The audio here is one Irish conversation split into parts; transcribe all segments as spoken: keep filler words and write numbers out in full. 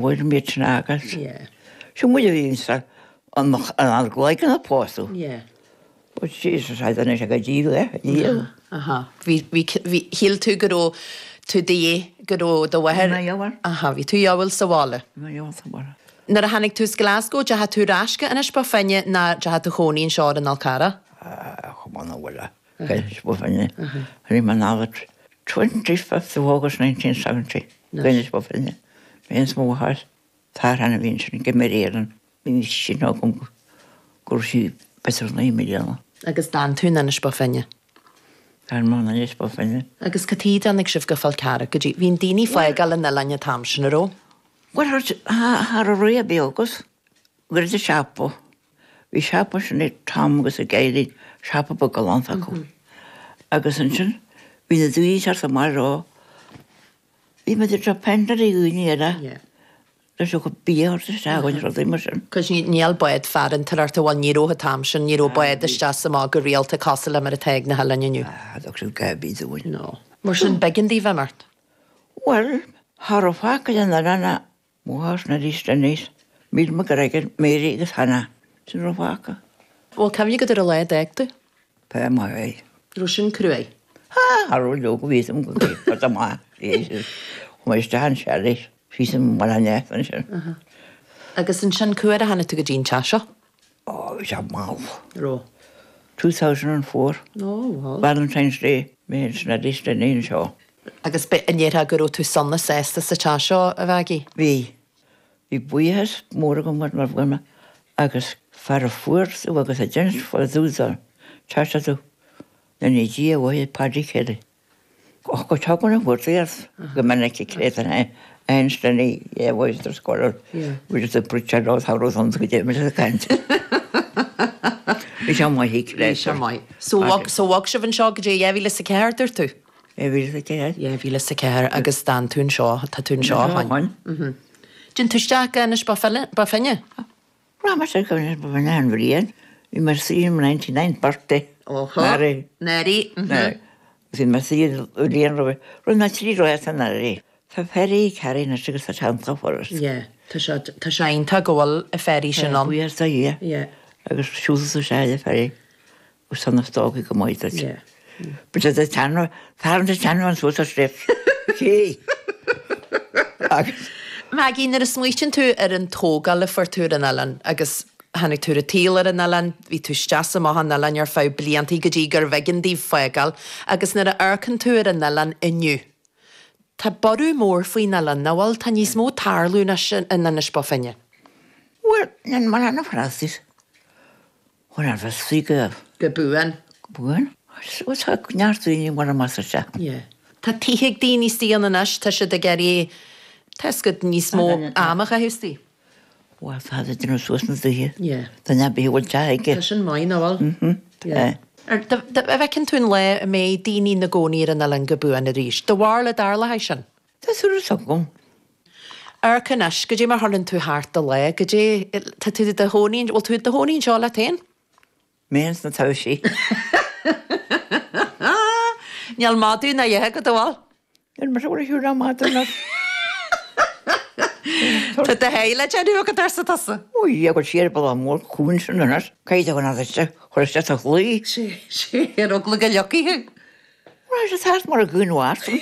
Bhuail muid sin agus. Sin muid a bhí insa an an gcloigeann a pósadh. But Jesus, I don't know, go díobh é, díobh. Aha. Bhí, bhí, bhí, shíl tú go raibh tú de dhíth, go raibh do mháthair. Bhí mé gheobhair. Aha, bhí tú gheobhail sa bhaile. Bhí mé gheobhail sa bhaile. Nuair a tháinig tú as Glasgow, deachaigh tú ar ais go Inis Bó Finne ná deachaigh tú chónaí anseo ar an Fhál Carrach? Ah, chomh maith na bhaile. Inis Bó Finne. Bhí mé anall twenty fifth of August nineteen seventy. Go Inis Bó Finne. Mé is mo mháthair. Fear a bhí ansin go Éireann. Bhí sin agam go raibh sí b'fhéidir naoi mbliana. Agus d'fhan tú in Inis Bó Finne? D'fhan mé in Inis Bó Finne. Agus cad chuige a dtáinig sibh go Fál Carrach go dtí, bhí an daoine fágáil an oileáin an t-am sin, an raibh? Bhuel, cha raibh ré ar bith agus go raibh siopa. Bhí siopa sin ag Tom agus ag Eileen, siopa beag galánta acu. Agus ansin bhí na daoine teacht amach leo. Bhí muid ag depend ar dhaoine eile. Leis an bia a thabhairt isteach agus rudaí mar sin. Cos níl bád farantóireachta, bhuel ní raibh an t-am sin, ní raibh bád isteach is amach go rialta cosúil le mar atá ag na hoileáin inniu. Ah, thug siad gá bith dúinn. No. Mar sin b'éigean daoibh imeacht? Bhuel, cha raibh fágtha den oileán ach mo mháthair arís anois, Míl McGregor, Mary agus Hannah. Sin a raibh fágtha. Bhfuil cuimhne agat ar an lá a d'fhág tú? Pé maith é. Raibh sin cruaidh? Ah, cha raibh leoga bhí fhios agam go gcuirfeadh amach. Chuaigh mé isteach an seilís. Bhí san mbaile neas ansin. Agus ansin cá huair a tháinig tú go dtí an teach seo? Ó, bhí sé mall. Raibh? Two thousand and four. Ó, bhuel. Valentine's Day, mé ansin arís le linn seo. Agus be, an ndéarfá go raibh tú sona sásta sa teach seo, a Mhaggie? Bhí. Bhí buíochas mór agam mar bhfuil mé agus fear a fuair tú agus a d'inis fá dtaobh don teach seo tú. Nuair a Dia uaidh Paddy Kelly. Ach go dtagann an chuartaíocht go minic ag créatúir Einstein é voice the scholar. Bhí the preacher ó tá rud an go dé ag caint. Bhí sé maith ag Bhí sé maith. So bhog so bhog sibh anseo go dtí dhá mhíle is a ceathair, dúirt tú? Dhá mhíle is a ceathair. Dhá mhíle is a ceathair agus d'fhan tú anseo, tá tú anseo ó shin. Mhm. Dtéann tú isteach go Inis Bó Finne? Raibh mise go Inis Bó Finne an bhliain. Bhí mé suí i ninety ninth birthday. Óhó. Mary. Mary. Mhm. Bhí mé suí bliain roimhe. Rinne mé trí rás san Earraigh. Tá ferry carry anois agus tá teannta foras. Yeah. Tá sé tá sé iontach go bhfuil an ferry sin ann. Buíochas do Dhia. Yeah. Agus siúlfaidh tú isteach ar an ferry agus tá na stócaigh go maith duit. Yeah. But tá teann fear an teann an suas ar sliabh. Cé? Agus Maggie, nuair a smaoitíonn tú ar an tógáil a fuair tú ar an oileán agus tháinig tú ar an tsaol ar an oileán, bhí tú isteach is amach an oileáin ar feadh bliantaí go dtí gurbh éigean daoibh fágáil agus nuair a amharcann tú ar an oileán inniu, tá borradh mór faoin oileán, nach bhfuil? Tá níos mó tarlú anois in Inis Bó Finne. Bhuel, níl mar an Francis. Bhuel, an bhfios go Go buan. Go buan. Bhuel, tá neart daoine mar a más isteach. Yeah. Tá tithe ag daoine istigh ann anois, tá siad ag iarraidh, tá fhios agat, níos mó ama a chaitheamh istigh. Bhuel, tá siad ag déanamh suas na dtithe. Yeah. Duine ar bith a bhfuil teach aige. Tá sin maith, nach bhfuil? Mhm. Yeah. Ar, do, do, an bhfeiceann tú an lá a mbeidh daoine ina gcónaí ar an oileán go buan arís? Do bharúil an dtarlóidh sin? Tá súil agam. Amharc anois, goidé mar chuireann tú thart do lá, goidé, tá tú i do chónaí, bhfuil tú i do chónaí anseo leat féin? Mé ins na taibhsí. Níl madadh ná a dhath agat, an bhfuil? Níl mise ag siúl le madadh anois. Tá do sháith le déanamh agat, arsa tusa. Ó Dhia, go siar bealach mór cúng sin anois. Caithfidh tú an fhad isteach, chur isteach sa chlaí. Sé, sé, ar eagla go leagfaí thú. Bhuel, sé thart mar a gcún Mhártain.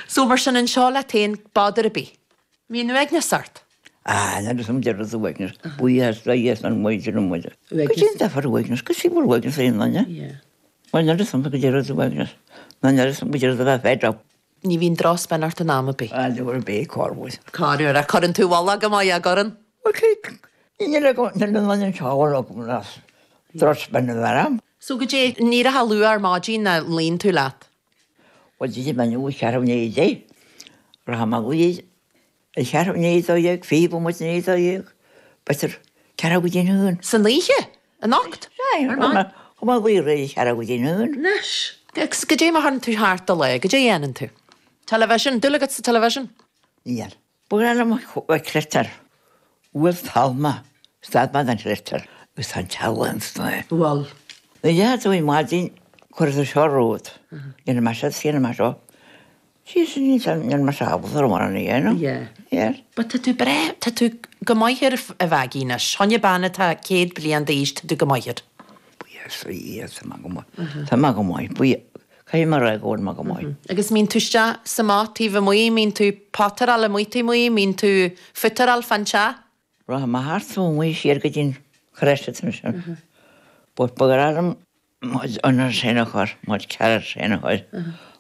So mar sin anseo leat féin, bother ar bith. Mbíonn uaigneas ort? Ah, n'fheadar is deireadh is uaigneas. Buíochas do Dhia san muid ar muid. Go dtí an difear uaigneas, go dtí bhfuil uaigneas aon duine. Yeah. Bhuel, n'fheadar is go deireadh is uaigneas. Ná n'fheadar is go deireadh a bheith fed up. Ní bhíonn drochspin ort in am ar bith. Ah, ní ar bith, corruair. Corruair, ach cuireann tú i bhfolach go maith é, an gcuireann? Bhuel, cé, níl agam, níl an duine seo agam as drochspin a bheith orm. So goidé, an éireofá luath ar maidin nó an luíonn tú leat? Bhuel, d'imigh mé inniu ceathrú i ndiaidh a deich. Rachaidh mé a luí ag ceathrú i ndiaidh a dó dhéag, fiche bomaite i ndiaidh a dó dhéag, b'fhéidir ceathrú go dtí a haon. San oíche? Anocht? Sea, Ar maidin? Chuaigh mé a luí réidh ceathrú go dtí a haon. Anois. Agus goidé mar chuireann tú thart do lá, goidé a dhéanann tú? Television? Dúil agat sa television? Níl. Ba bhreá liom a chreidtear. Bhuail talmh mé, stad mé den chreidtear agus tá an teaghlach ansan é. Bhuel. Nuair a d'fhéach tú ar maidin, cuirfidh tú seo romhat. Déanfaidh mé seo, déanfaidh mé seo. Jesus, níl mé ábalta ar an a dhéanamh. Yeah. Yeah. But tá tú breá, tá tú go maith air a Mhaggie anois. Choinne bean atá céad bliain d'aois, tá tú go maith air. Buíochas le Dia, tá mé go maith. Tá mé go maith. Buí, caithfidh mé a rá go bhfuil mé go maith. Agus mbíonn tú isteach sa amach taobh amuigh, mbíonn tú potteráil amuigh taobh amuigh, mbíonn tú footeráil fan teach? Rachaidh mé thart taobh amuigh siar go dtí'n chrois ansin. But ba ghnách liom mo chuid onions féin a chur, mo chuid carrots féin a chur,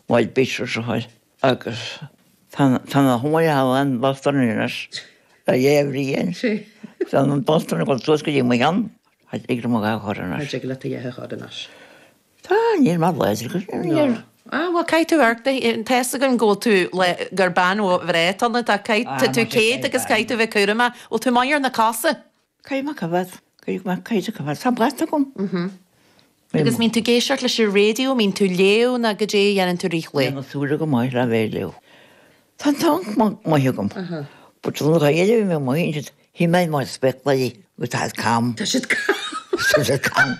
mo chuid beetroots a chur. Agus tá tá na hiomaire an Boston anois le dhá bhliain. Tá an Boston ag dul suas go dtí mo cheann. Tá ag mo dhá chur anois. Tá leat a dhéanamh chur anois. Tá, níl mé láidir go níl. Ah, well, caithfidh tú amharc, tá fhios agam go bhfuil tú le gur bean bhreá atá ionat, ach caithfidh tá tú céad agus caithfidh tú bheith cúramach. Bhfuil tú maith ar na cosa? Caithfidh mé coimhéad, caithfidh mé, caithfidh tú coimhéad. Tá brat agam. Agus mbíonn tú ag éisteacht leis an raidió, mbíonn tú léamh nó goidé a dhéanann tú rith lae? Níl na súile go maith le bheith ag léamh. Tá an t-am maith agam. But an ghaeilge a bhí mé amuigh ansin, shíl mé mo spéaclaí agus tá siad cam. Tá siad cam. Tá siad cam.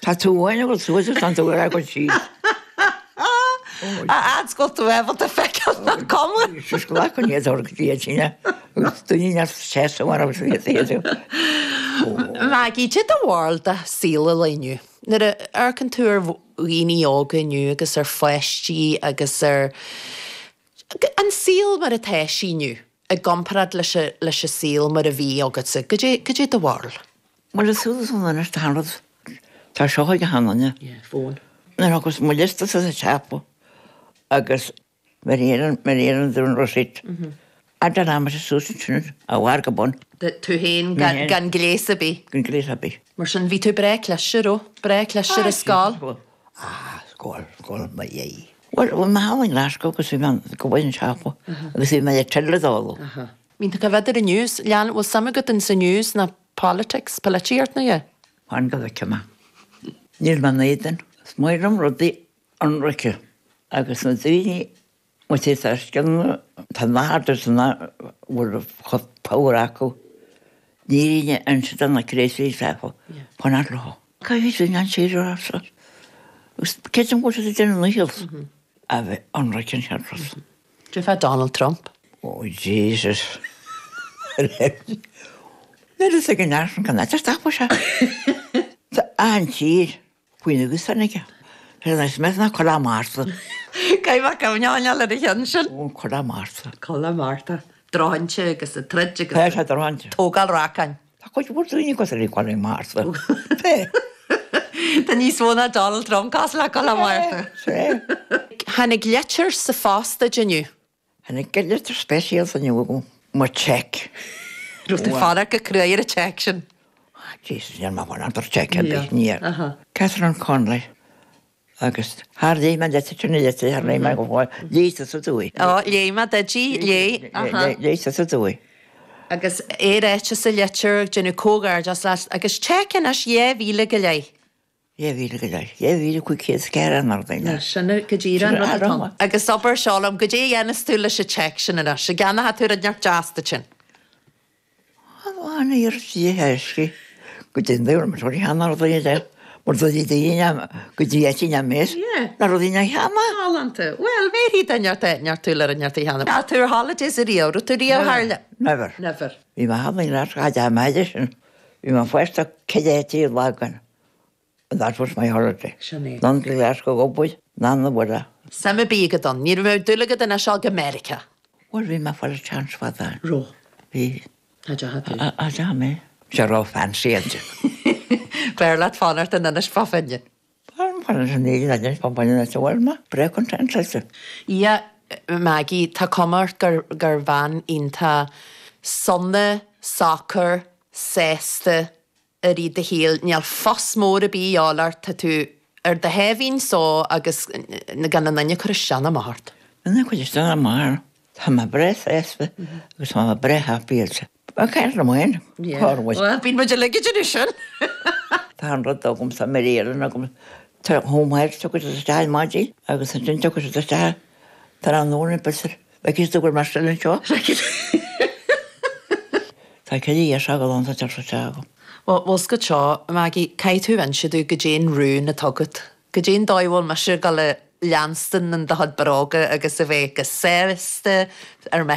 Tá tú amháin ag dul suas agus tá tú ar ag dul síos. A fhad is go bhfuil tú ábalta feiceáil nach cuma. Is glac an iad orthu go dtí an tine agus daoine neart seasamh mar agus iad iad. Maggie, cad é do bharúil de saol an lae inniu? Nuair a amharcann tú ar dhaoine óga inniu agus ar pháistí agus ar an saol mar atá sé inniu i gcomparáid leis an leis an saol mar a bhí agatsa, goidé goidé do bharúil? Bhuel is súil san anois tá an rud tá seo ag achan duine. Yeah, fón. Nuair agus mo liosta sa siopa agus mar iarrann mar iarrann dún receipt. Fhad an ama suas ansin a bharr go bun. Tú féin gan gan gléas ar bith. Gan gléas ar bith. Mar sin bhí tú breá cliste, raibh? Breá cliste ar an scoil? Ah, scoil, scoil mo dhéidh. Bhuel, bhí mé thall i nGlasgow agus bhí mé go bhfuil an siopa agus bhí mé le tuilleadh dó. Bíonn tú ag coimhéad ar an news, lean, bhfuil suim agat in sa news ná politics, polaitíocht nó yeah? Fan go bhfeicfidh mé. Níl mé in éadan. Is maith liom rudaí ionraice agus na daoine Má tá tá scileanna, tá nathar de na bhfuil chomh power acu, ní aoinne inse do na crazy acu, fanacht leo. Caithfidh tú an tír a rá agus creidim go bhfuil siad ag déanamh a ndícheall a bheith ionraic an cheart. Cad é fá Donald Trump? Oh Jesus. Níl a fhios ag an fhear sin cá háit ar stopfaidh sé. Tá an tír faoina ghuth aige. Is mé ná Colla Márta. Caithfidh mé cuimhne a choinneáil ar an cheann sin. Ó, Colla Márta. Colla Márta. Drochintí agus ag troid agus. Tá sé drochintí. Tógáil racáin. Tá cuid mhór daoine cosúil le Colla Márta. Tá níos mó ná Donald Trump cosúil le Colla Márta. Sea. Tháinig litir sa phost duit inniu. Tháinig litir speisialta inniu agam. Mo cheque. Raibh tú ag fanacht go cruaidh ar an cheque sin. Ah, Jesus, níl mé ag fanacht ar cheque ar bith, níl. Catherine Connolly. Agus thar léigh mé litir sin na litir, thar léigh mé go fóill, léigh tusa dúinn. Ó, léigh mé duit í, léigh, aha. Léigh tusa dúinn. Agus é ráite sa litir, ag déanamh comhghairdeas leat, agus cheque anois dhá mhíle go leith. Dhá mhíle go leith. Dhá mhíle cúig chéad is ceithre an rud é. Sin go díreach an rud atá ann. Agus abair seo liom, goidé a dhéanfas tú leis an cheque sin anois, an gceannóidh tú rud inteacht deas duit féin? An iarracht dhéthaiscí go dtí an dúr mar cheann ar dhaoine de mar do daoine go dtí eití na mé na rudaí na cheana. Galánta. Well, bhéarfaidh duine ort é, neart tú le neart a cheann. Tá tú ar holidays ariamh, raibh tú riamh thar le? Never. Never. Bhí mé thall i nGlasgow a maide sin. Bhí mé fásta ceithre tír lagan. And that was my holiday. Sin é. None go Glasgow go bhfuil, none na bhfuil. Suim ar bith agat ann. Ní raibh dúil agat anois go Meiriceá. Bhuel, bhí mé ag fáil chance fada. Raibh. Bhí. Tá deacha tú. A deacha mé. Sé raibh fancy ansin. B'fhearr leat fanacht in Inis Bó Finne. Fan san éigin a deis pan bain sa bhfuil mé. Breá content leis. Yeah, Maggie, tá cuma ort gur gur bhean iontach sona, socair, sásta i rith do shaoil. Níl fuss mór ar bith a dhíobháil ort, tá tú ar do sháimhín só agus gan aon duine ag cur isteach ná amach ort. Duine ag cur isteach ná amach orm. Tá mé breá sásta agus tá mé breá happy also. Bhuel, caint liom féin, cá bhfuil? Bhuel, bíonn muid uilig ag déanamh sin! Tá an rud agam, tá mé Éireann agam, tá home health tiocfaidh siad isteach ar maidin agus ansin tiocfaidh siad isteach tráthnóna b'fhéidir, bhfeicfidh siad go bhfuil mé still anseo. Tá ceithre dheis agam ann, tá deis isteach agam. Bhuel, bhfuil 's agat seo, Maggie, caithfidh tú inse domh goidé an rún atá agat. Goidé an dóigh a bhfuil mise ag dul a leanstan in do chuid bróga agus a bheith go sásta ar mo